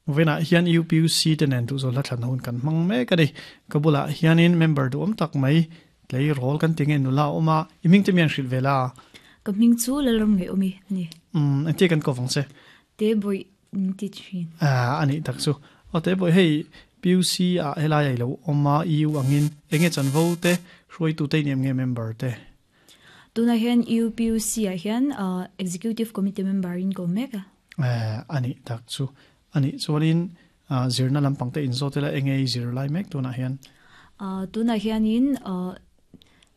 Vawiinah hian UPUC te nen duhzawl hla thlan hun kan hmang mek a ni. Ka bulah hianin member duhawm tak mai tleirawl kan ti nge nula a awm a, i hming te mi an hrilh ve la? Ka hming chu Lalram Ngaihawmi a ni. Umm, engtia kan kawp ang che? Te bawih min ti thin. Ah, a nih tak chu. Aw te bawih, hei PUC ah helai a i lo awm a, EU angin enge chanvo te, hruaitu te i ni em nge member te? Tunah hian UPUC ah hian Executive Committee member in ka awm mek a. Eh, a nih tak chu. A nih chuanin zirna lampang te inzawt ila enge i zir lai mek tunah hian? Tunah hianin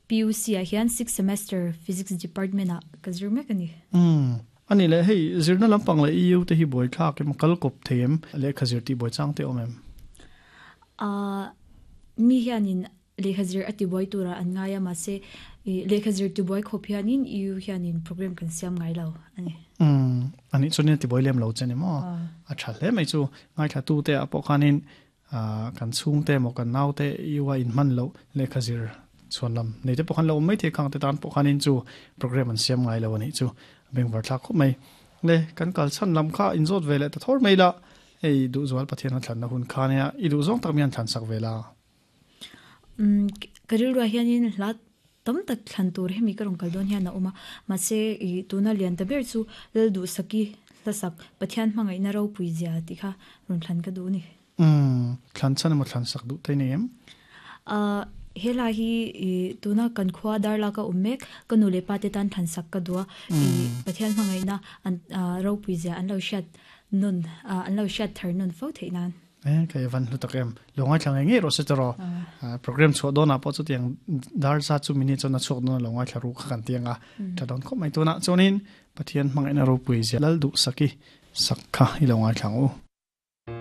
PUC ah hian sixth semester Physics department ah ka zir mek a ni. Umm, a nih leh hei zirna lampang leh EU te hi buaithlak em, kal kawp thei em, lehkha zir tih buai chang te awm em? Mi hianin Lehkha zir a tibuai turah an ngai a, mahse lehkha zir tibuai khawp hianin EU hianin program kan siam ngai lo a ni. Umm, anih chuanin a tibuai lem lo che ni maw? A tha hle mai chu. Ngaithlatute ah pawh khanin kan chhungte emaw kan naute EU a inhman loh lehkha zir chhuan lam nei te pawh khan lo awm maithei khang te tan pawh khanin chu program an siam ngai lo a nih chu. Bengvar thlak khawp mai. Le, kan kal chhan lam kha inzawt ve leh ta thawr mai la, hei duhzual Pathian a thlanna hun kha nia, i duhzawng tak mi an thlansak ve la. Ka rilruah hianin hla tam tak thlan tur hemi ka rawn kal dawn hian a awm a, mahse ih tuna lian ta ber chu Lalduhsaki hlasak Pathian hmangaihna ropui zia tih kha rawn thlan ka duh a ni. Umm, thlan chhan emaw thlan sak duh te nei em? Ahh, he hla hi ih tuna kan khua Darlak a awm mek, ka nu leh pa te tan thlan sak ka duh a, ih Pathian hmangaihna an ropui zia an lo hriat nawn, an lo hriat thar nawn fo theih nan. Eh, ka evan hlu tak em. Lo ngai thla ngei ngei rawh se tawh. Program chhuah dawnah pawh chutiang dar za chu minute chuan a chhuak dawn lo ngai thla ru kha kan tiang a. Tha dawn khawp mai tuna chuanin Pathian hmangaihna ropui zia Lal duh saki sak kha i lo ngai thla ang u.